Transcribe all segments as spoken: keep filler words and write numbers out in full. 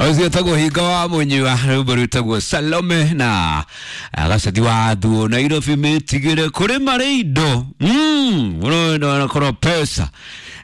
Ũcio tagwo hinga wa mũnyua rwĩmbo rwĩtagwo Salome na gaceti wa thuo Nairobi mĩtigĩre kũrĩ marĩ indo mm, ũrona pesa.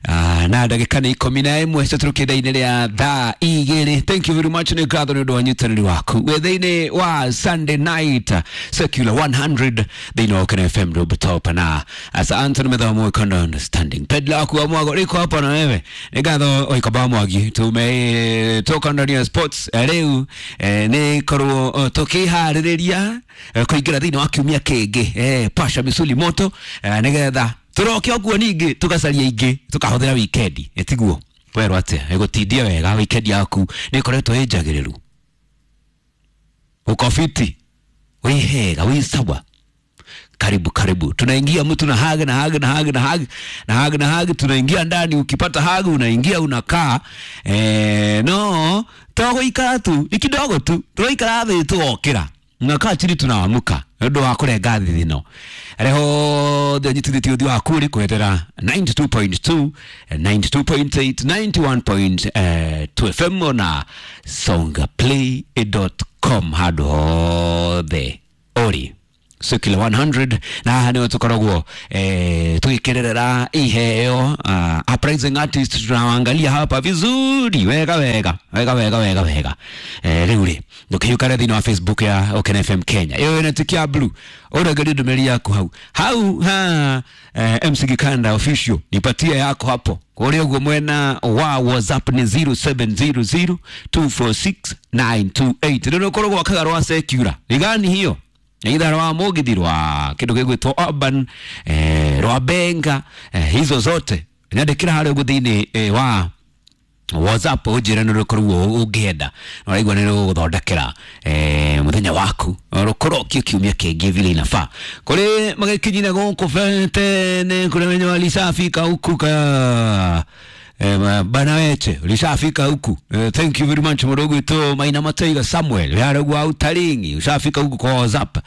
Ah, na ndagĩka nĩ ikũmi na ĩmwe citũrũkĩte-inĩ rĩa thaa igĩrĩ. Thank you very much, nĩ ngatho nĩ ũndũ wa ũnyitanĩri waku wĩ thĩinĩ wa Sunday Night Secular one hundred thĩinĩ wa Ukena F M rooftop na asa Anthony Methomo kondo understanding pedla waku wa mwago riko hapo na wewe nĩ ngatho oikaba mwagi tumetoka ndani ya sports. Eh, rĩu eh, nĩ korwo eh, tũkĩharĩrĩria eh, kũingĩra thĩinĩ wa kiumia kĩngĩ, eh, pasha misuli moto, eh, nĩgetha tũroke ũguo ningĩ tũgacaria ingĩ tũkahũthĩra wikendi ĩtiguo werwo atĩa ĩgũtindia wega. Wikendi yaku nĩ ĩkoretwo ĩ njagĩrĩru, uko fiti, wĩ hega, wĩ sawa. Karibu karibu, tunaingia mtu na hug na hug na hug na hug na hug na hug, tunaingia ndani. Ukipata hug unaingia unakaa. Eh, no tũgũikara tu ni kidogo tu, tũraikara thĩ tũgokĩra, nakaa chini tunaamka nĩ ũndũ wa kũrenga thithino arĩa hothe ũnyitithĩtie ũthiũ waku rĩ kũhetera ninety-two point two, ninety-two point eight, ninety-one point two F M na songaplay dot com handũ hothe ũrĩ. Secular one hundred na haha nĩho tũkoragwo eh, tũgĩkĩrerera iheo uh, uprising artist tunawaangalia hapa vizuri wega wega wega wega wega wega. eh, rĩu rĩ ndũkĩhiũkare thĩinĩ wa Facebook ya Oken F M Kenya ĩyo ĩna tick ya blue, ũregerie ndũmĩrĩri yaku hau hau ha eh, M C Gikanda Official, nipatie yako hapo kũrĩa ũguo mwena wa WhatsApp ni zero seven zero zero two four six nine two eight. Rĩu ũkoragwo wakaga rwa secular rigani hiyo either rwa mugithi, rwa kindu gigwitwo urban, eh, rwa benga, eh, hizo zote nyandĩkĩra harĩa ũguo thĩinĩ eh, wa WhatsApp ũnjĩre nĩ rũkorwo ũngĩenda na ũraigua nĩ rũgũthondekera eh, mũthenya waku rũkũrokie kiumia kĩngĩ vile inafaa. Kũrĩ magĩkinyire gũkũ tene, kũrĩ wenye walishafika huku ka eh, bana weche ulishafika huku. eh, thank you very much mũndũ ũgwĩtwo Maina Mataiga Samuel yaragua utaringi ushafika huku kwa WhatsApp.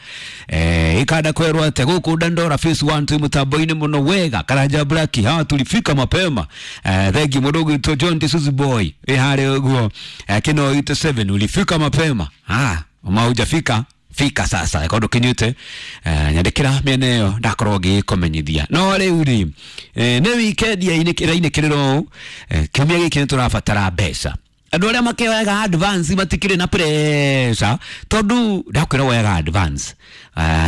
eh, ikanda kwerwo ate gũkũ Dandora Phase one twĩ mũtambo-inĩ mũno wega. Karanja Black hawa tulifika mapema. eh, thank you mũndũ ũgwĩtwo John Tisuzu Boy ĩ harĩa ũguo eh, kino eighty-seven ulifika mapema. Ah, ma hujafika fika sasa kondo kinyute eh, nyandĩkĩra mĩena ĩyo ndakorwo ngĩkũmenyithia. No rĩu rĩ eh, nĩ weekend ĩrainĩkĩrĩra ũũ, eh, kiumia gĩkĩ nĩ tũrabatara mbeca. Andũ arĩa makĩoyaga advance matikĩrĩ na pressure tondũ ndakwĩra woyaga advance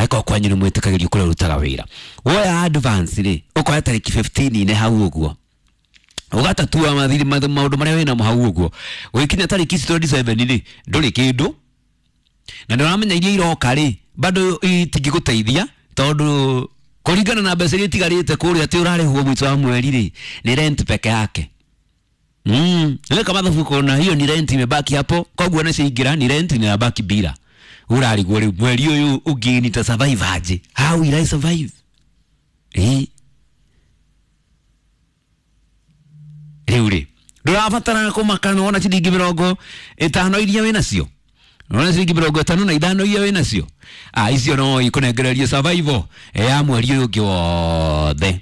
ĩkorwo kwanyu nĩ mwĩtĩkagĩrio kũrĩa ũrutaga wĩra woya advance rĩ ũkoya tarĩki fifteen inĩ hau ũguo ũgatatua mathiri maũndũ marĩa wĩnamo hau ũguo gũgĩkinya tarĩki ici twenty-seven rĩ ndũrĩ kĩndũ na ndũramenya iria iroka rĩ bado itingĩgũteithia tondũ kũringana na mbeca iria itigarĩte kũrĩa atĩ ũrarĩhwo mũico wa mweri rĩ nĩ rent peke yake. Mm, weka mathabu kona hiyo ni rent imebaki hapo, koguo na ciaingĩra ni rent inabaki bila urarigwo rĩu mweri ũyũ ũngĩ nita survive aje? How will I survive? Eh, rĩu rĩ ndũrabatara kũmaka nĩwona ciringi mĩrongo ĩtano iria wĩnacio, nona ciringi mĩrongo ĩtano na ithano iria wĩnacio, ah, icio no ikũnengererie survival ya mweri ũyũ ũngĩ wothe.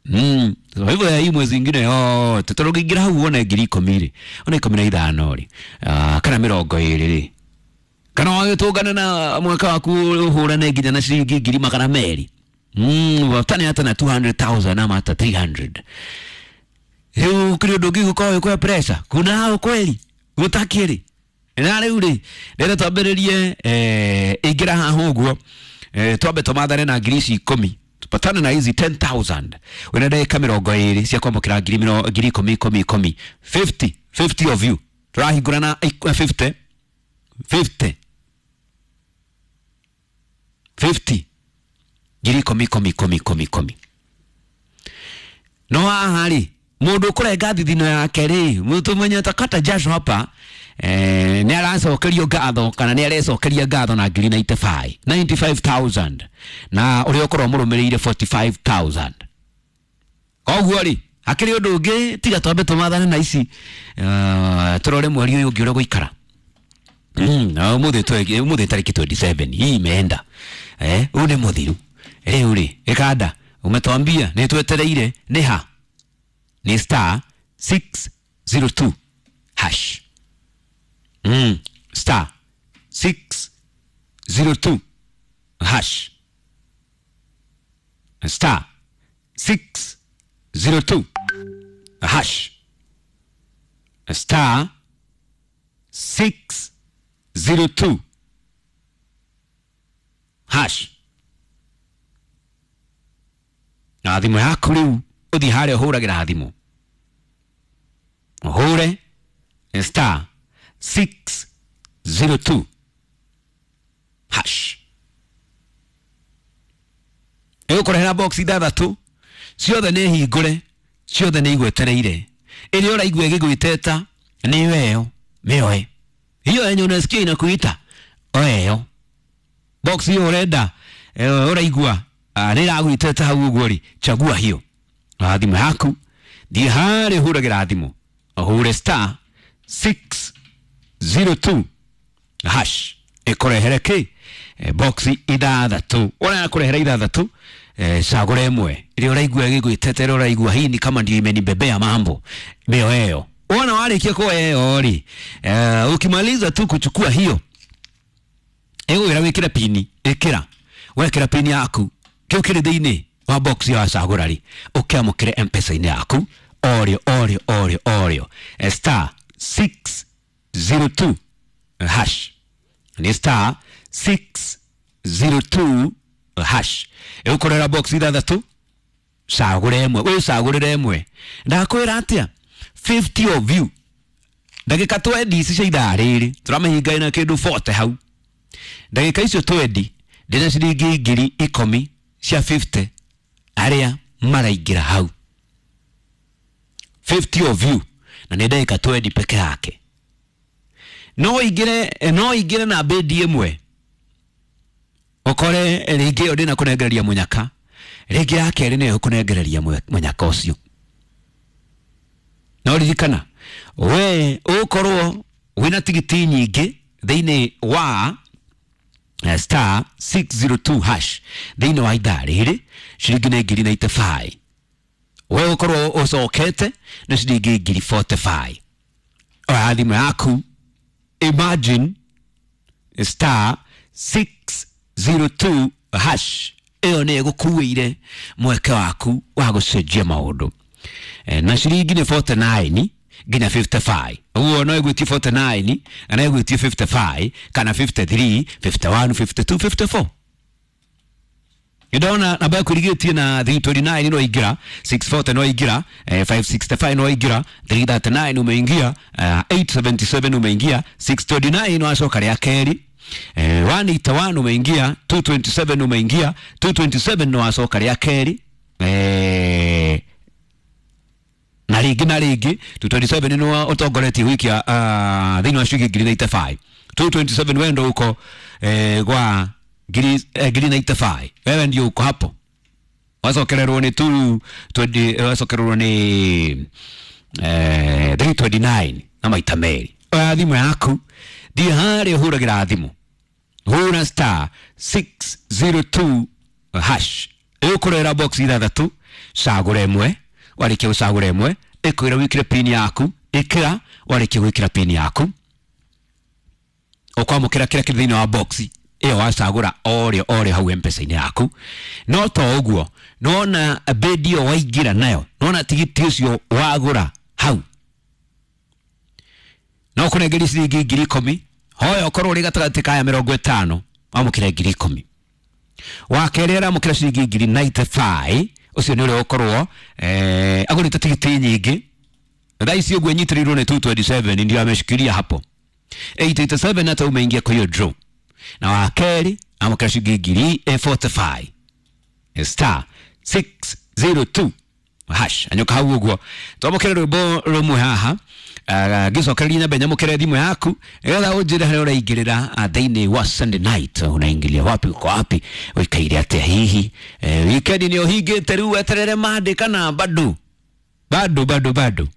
Mm, survival ya hii mwezi ingine yote tondũ ũngĩingĩra hau wone ngiri ikũmi rĩ, one ikũmi na ithano rĩ, ah, kana mĩrongo ĩrĩ rĩ, kana wagĩtũngane na mwaka waku ũhũrane nginya na ciringi ngiri magana merĩ, mm, watane hata na two hundred thousand ama hata three hundred. Rĩu kũrĩ ũndũ ũngĩ gũkorwo wĩ pressure kuna hao kweli gũtakĩrĩ na rĩu rĩ rĩrĩa twambĩrĩrie eh, ingĩra haha ũguo eh, twambe tũmathane na ngiri ici ikũmi, tupatane na hizi ten thousand wĩna ndagĩka mĩrongo ĩrĩ cia kwamũkĩra ngiri mĩro- ngiri ikũmi ikũmi ikũmi, fifty fifty of you tũrahingũra na ik- fifty fifty fifty ngiri ikũmi ikũmi ikũmi ikũmi ikũmi. No haha rĩ mũndũ ũkũrenga thithino yake rĩ mũtũmenye takata jasho hapa eh, nĩ aracokerio ngatho kana nĩ arecokeria ngatho na ngiri ninety-five ninety-five thousand na ũrĩa ũkorwo mũrũmĩrĩire forty-five thousand. Koguo rĩ hakĩrĩ ũndũ ũngĩ tiga twambe tũmathane na ici uh, tũrore mweri ũyũ ũngĩ ũrĩa gũikara. Mm, na ũmũthĩ twe- ũmũthĩ tarĩki twenty-seven hii imeenda, eh, ũyũ nĩ mũthiru. Rĩu rĩ ĩkanda umetwambia nĩ twetereire nĩ ha nĩ star six zero two hash. Star six zero two hash. Star six zero two hash. Star six zero two hash. Na thimũ yaku rĩu ũthiĩ harĩa ũhũragĩra thimũ, ũhũre star six zero two hash. Ĩgũkũrehera box ithathatũ, ciothe nĩ hingũre, ciothe nĩ igwetereire. Ĩrĩa ũraigua ĩgĩgwĩteta nĩyo ĩyo, mĩoe. Hiyo yenye unasikia inakuita, oe ĩyo. Box hiyo ũrenda, ũraigua nĩ ĩragwĩteta hau ũguo rĩ, chagua hiyo. Na thimũ yaku thiĩ harĩa ũhũragĩra thimũ, ũhũre star six zero two hash, ĩkũrehere kĩ? Box ithathatũ. Ũrĩa kũrehera ithathatũ, cagũra ĩmwe ĩrĩa ũraigua ĩgĩgwĩteta, ĩrĩa ũraigua hii ni kama ndio imenibebea mambo, mĩoe ĩyo. Wona warĩkia kuoya ĩyo rĩ, ukimaliza tu kuchukua hiyo, ĩgũkwĩra wĩkĩre pini, ĩkĩra. Wekĩra pini yaku, kĩu kĩrĩ thĩinĩ wa box ya wacagũra rĩ, ũkĩamũkĩre M-Pesa-inĩ yaku orĩo orĩo orĩo orĩo. Star six zero two hash. Ni star six zero two hash. Ĩgũkũrehera box ithathatũ, cagũra ĩmwe, wĩcagũrĩre ĩmwe. Ndakwĩra atĩa? fifty of you. Ndagĩka twenty ici cia ithaa rĩrĩ, tũramahinga na kĩndũ forty hau. Ndagĩka icio twenty, ndĩna ciringi ngiri ikũmi cia fifty arĩa maraingĩra hau. fifty of you, na nĩ ndagĩka twenty peke yake. No ingĩre, no ingĩre na bedi ĩmwe, ũkore rĩngĩ ĩyo ndĩnakũnengereria mũnyaka, rĩngĩ ya kerĩ nĩyo ĩkũnengereria mũnyaka ũcio. No ririkana, we ũgũkorwo wĩna tigiti nyingĩ thĩinĩ wa star six zero two hash thĩinĩ wa ithaa rĩrĩ, ciringi nĩ ngiri ninety five. We ũgũkorwo ũcokete nĩ ciringi ngiri forty five. Oya thimũ yaku, imagine star six zero two hash ĩyo nĩ ĩgũkuĩire mweke waku wa gũcenjia maũndũ. Na ciringi nĩ forty nine nginya fifty five. Ũguo no ĩgwĩtie forty nine kana ĩgwĩtie fifty five kana fifty three, fifty one, fifty two, fifty four. Ndona namba yaku ĩrigĩtie na three twenty nine no ingĩra, six forty no ingĩra, five sixty five no ingĩra, three thirty nine umeingia, eight seventy seven umeingia, six twenty nine wacoka rĩa kerĩ, one eighty one umeingia, two twenty seven umeingia, two twenty seven no wacoka rĩa kerĩ, eh na rĩngĩ na rĩngĩ two twenty seven nĩ ũtongoretie gũikia thĩinĩ wa ciringi ngiri ninety five. two twenty seven wewe ndo uko eh, gwa ngiri ngiri ninety five. Wewe ndio uko hapo. Wacokererwo nĩ two twenty, wacokererwo nĩ eh three twenty nine na maita merĩ. Oya thimũ yaku, thiĩ harĩa ũhũragĩra thimũ, hũra star six zero two hash. Ĩgũkũrehera box ithathatũ, cagũra ĩmwe. Warĩkia gũcagũra ĩmwe, ĩkwĩra wĩkĩre pin yaku, ĩkĩra. Warĩkia gwĩkĩra pin yaku, ũkwamũkĩra kĩrĩa kĩrĩ thĩinĩ wa box ĩyo wacagũra orĩo orĩo hau M-Pesa-inĩ yaku. No to ũguo, nĩwona bedi ĩyo waingĩra nayo, nĩwona tigiti ũcio wagũra hau, no kũnengeria ciringi ngiri ikũmi. Hoya ũkorwo ũrĩ gatagatĩ ka ya mĩrongo ĩtano, wamũkĩre ngiri ikũmi. Wa kerĩ aramũkĩra ciringi ngiri ninety five, ũcio nĩ ũrĩa ũkorwo eh agũrĩte tigiti nyingĩ. Thaa ici ũguo ĩnyitĩrĩirwo nĩ two twenty seven, ndio ameshikilia hapo. eight eighty seven hata umeingia kwa hiyo draw. Na wa kerĩ amũkĩra ciringi ngiri forty five. Star six zero two hash. Anyoka hau ũguo. Twamũkĩre rwĩmbo rũmwe haha, ngĩcokereria nyambe nyamũkĩre thimũ yaku nĩgetha ũnjĩre harĩa ũraingĩrĩra thĩinĩ wa Sunday night. Unaingilia wapi, uko wapi, ũikaire atĩa hihi? Weekend nĩ ũhingĩte rĩu weterere Monday kana bado? Bado bado bado.